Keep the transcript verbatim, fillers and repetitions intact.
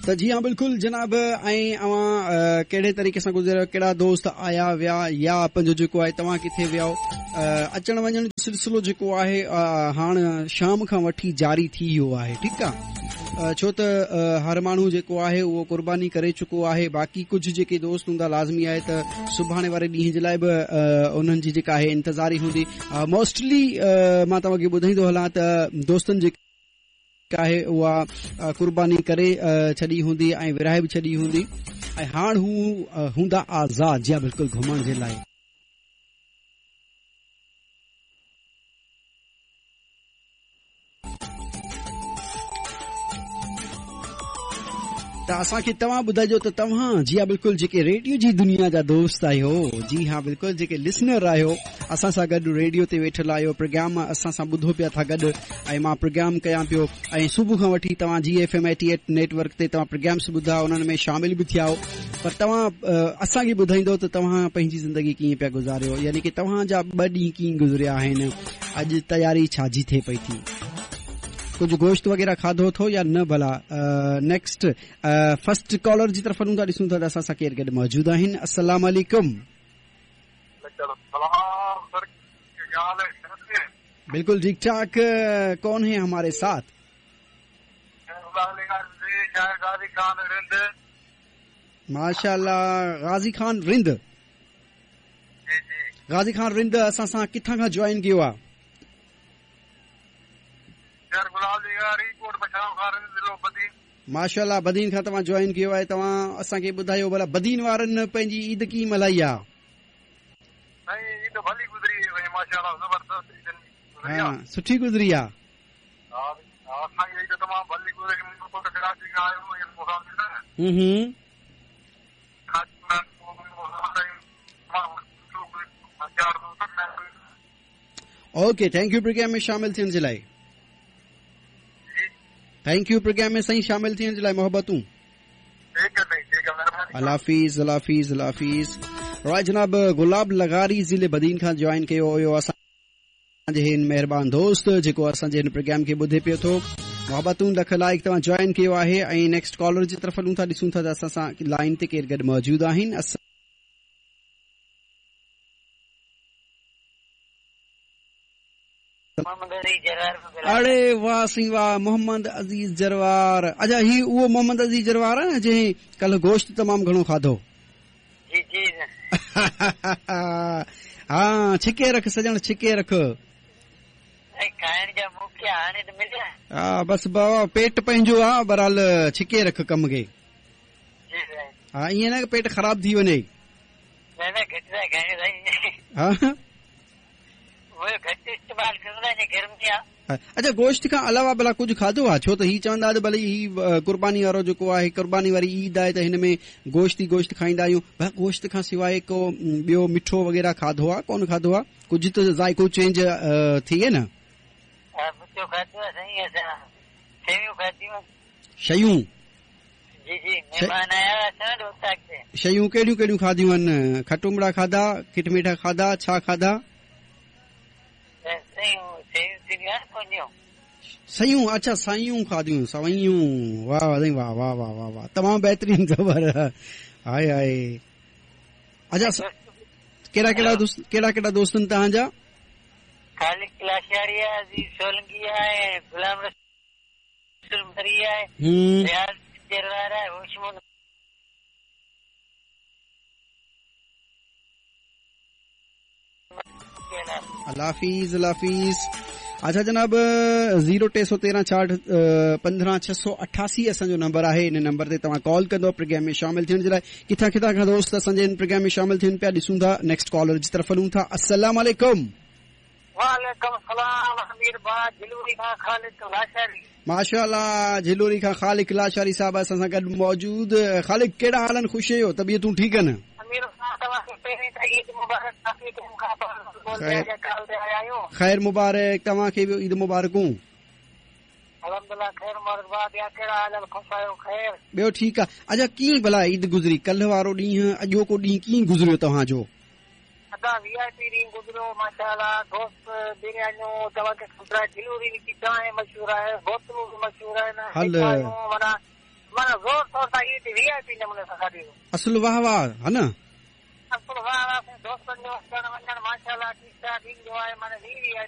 त जी हा बिल्कुलु जनाब, ऐं अवां कहिड़े तरीक़े सां गुज़रियो, कहिड़ा दोस्त आया विया या पंहिंजो जेको आहे तव्हां किथे विया, अचण वञण जो सिलसिलो जेको आहे हाणे शाम खां वठी जारी थी वियो आहे। ठीकु आहे, छो त हर माण्हू जेको आहे उहो क़ुर्बानी करे चुको आहे। बाक़ी कुझु जेके दोस्त हूंदा लाज़मी आहे त सुभाणे वारे ॾींहं जे लाइ बि उन्हनि जी जेका आहे इंतज़ारी हूंदी। मोस्टली मां तव्हांखे ॿुधाईंदो हलां त दोस्तनि जेका आहे उहा क़ुर्बानी करे छॾी हूंदी ऐं विराए बि छॾी हूंदी ऐं हाणे हू हूंदा आज़ाद, या बिल्कुलु घुमण जे लाइ। त असांखे तव्हां ॿुधाइजो त तव्हां जी हा बिल्कुलु जेके रेडियो जी दुनिया जा दोस्त आहियो, जी हा बिल्कुलु जेके लिसनर आहियो, असां सां गॾु रेडियो ते वेठल आहियो, प्रोग्राम असां सां ॿुधो पिया था गॾु ऐं मां प्रोग्राम कयां पियो ऐं सुबुह खां वठी तव्हां G F M eighty eight network ते तव्हां प्रोग्राम्स ॿुधा, उन्हनि में शामिल बि थिया हो। पर तव्हां असांखे ॿुधाईंदो त तव्हां पंहिंजी ज़िंदगी कीअं पिया गुज़ारियो, यानी की तव्हांजा ॿ ॾींहं कीअं गुज़रिया आहिनि, अॼु तयारी छाजी थिए पई थी, कुझु गोश्त वग़ैरह खाधो अथो या न भला। नेक्स्ट फर्स्ट कॉलर जी तरफ़ वञूं था, ॾिसूं था त असां सां केरु गॾु मौजूदु आहिनि। अस्सलाम वालेकुम। बिल्कुल ठीक ठाक। कौन है हमारे साथ? माशाअल्लाह, गाज़ी खान रिंद। गाज़ी खान रिंद असां सां किथां खां जॉइन कयो आहे? माशाअल्लाह, बदीन खां तव्हां जॉइन कयो आहे। तव्हां असांखे ॿुधायो भला बदीन वारनि पंहिंजी ईद कीअं मल्हाई आहे? हा, सुठी गुज़री आहे। हम्म, ओके, thank you programme में शामिल थियण जे लाइ। Thank you programme में सही शामिल थियण जे लाइ मोहबतूं। अल्लाह हाफ़िज़, अल्लाह हाफ़िज़, अल्लाह हाफ़िज़। राय जनाब गुलाब लगारी ज़िले बदीन खां जॉइन कयो हुयो असांजे हिन महिरबान दोस्त जेको असांजे हिन प्रोग्राम खे ॿुधे पियो थो। मोहबतूं लख लाइक तव्हां जॉइन कयो आहे। ऐं नेक्स्ट कॉलर जी तरफ़ हलूं था, ॾिसूं था त असां सां लाइन ते केरु गॾु मौजूदु आहिनि। अड़े वाह साईं वाह, मोहम्मद अज़ीज़ जरवार। अच्छा, ही उहो मोहम्मद अज़ीज़ जरवार आहे न जंहिं कल्ह गोश्त तमामु घणो खाधो? जी जी। हा, छिके रख सजण, छिके रख। खाइण जा मौक़ा हाणे त मिलिया। हा, बसि बाबा पेट पंहिंजो आहे, बहरहाल छिके रख कम खे। हा, ईअं न पेट ख़राब थी वञे। न न, घटि था खायूं साईं। हा, अच्छा, गोश्त खां अलावा भला कुझु खाधो आहे? छो त ही चवंदा त भले ही क़ुर्बानी वारो जेको आहे, क़ुर्बानी वारी ईद आहे त हिन में गोश्त ई गोश्त खाईंदा आहियूं। भला गोश्त खां सवाइ को ॿियो मिठो वग़ैरह खाधो आहे? कोन खाधो आहे? कुझु त ज़ाइक़ो चेंज थिए न। शयूं? शयूं कहिड़ियूं कहिड़ियूं खाधियूं आहिनि? खटुमड़ा खाधा, खिटमीठा खाधा, छा खाधा? सयूं। अच्छा, सयूं खाधियूं, सवयूं। वाह वाह वाह वाह वाह वाह वाह, तमामु बहितरीन ख़बर। हाय हाय। अच्छा, कहिड़ा कहिड़ा दोस्त, कहिड़ा कहिड़ा दोस्त आहिनि तव्हांजा? खालिद लाशारी आहे, अज़ीज़ सोलंकी आहे, गुलाम रसूल मरी आहे, रियाज़ जरवार आहे, होशमंद। अल्लाह हाफ़िज़, अल्लाह हाफ़िज़। अच्छा जनाब, ज़ीरो टे सौ तेरहं छाहठि पंद्रहं छह सौ अठासी असांजो नंबर आहे। इन नंबर ते तव्हां कॉल कंदो प्रोग्राम में शामिल थियण जे लाइ। किथां किथां खां दोस्त असांजे हिन प्रोग्राम में शामिल थियनि पिया, ॾिसूं था। नेक्स्ट कॉलर जी तरफ़ हलूं था। अस्सलाम वालेकुम। वालेकुम सलाम। अमीर भाउ, झिलूरी खां खालिक लाशारी। माशाअल्लाह, झिलूरी खां खालिक लाशारी साहब असां सां गॾु मौजूद। खालिक, कहिड़ा हाल आहिनि? ख़ुशि आहियो? तबियतूं ठीकु आहिनि? ख़ैर मुबारक, तव्हांखे बि ईद मुबारकूं। ॿियो ठीकु आहे। अच्छा, कीअं भला ईद गुज़री? कल्ह वारो ॾींहुं, अॼोको ॾींहुं कीअं गुज़रियो तव्हांजो? अदा वीआईपी ॾींहुं गुज़रियो माशाअल्लाह। दोस्त बिरयानियूं तव्हांखे ख़बर आहे, झिलूरी जी चांहि मशहूर आहे, बोतलूं बि मशहूर आहिनि, माना माना ज़ोर शोर I P نموني سان کاڌي. اصل واهه واهه ها نه؟ اصل واهه واهه، دوستن جو اچڻ وڃڻ ماشاءالله ٺيڪ ٺاڪ ايندو آهي، معنيٰ وي وي آئي